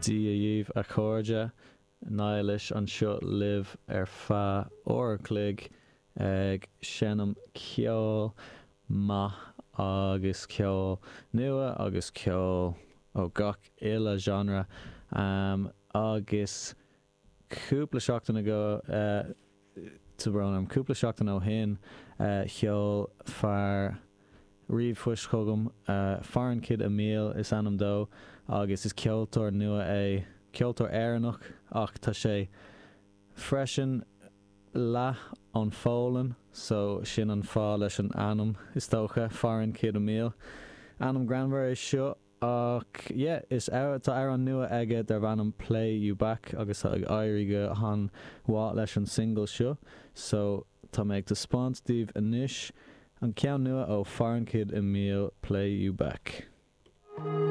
Dia dhaoibh a chairde, Niallais anseo libh ar feadh uair an chloig ag seinm ceol maith agus ceol nua agus ceol ó gach uile genre agus cúpla seachtain ago, tá brón orm, cúpla seachtain ó shin sheol fear ríomhphost chugam, Foreign Kid Emile is ainm dó agus is ceoltóir nua é, ceoltóir Éireannach ach tá sé freisin leath ón Pholainn so sin an fáth leis an ainm is dócha, Foreign Kid Emile. Ainm greannmhar é seo Ach yeah, is tá amhrán nua aige darb ainm Play You Back agus tá ag éirí go han-mhaith leis an single seo so tá mé ag taispeáint daoibh anois an ceann nua ó Foreign Kid Emile, Play You Back.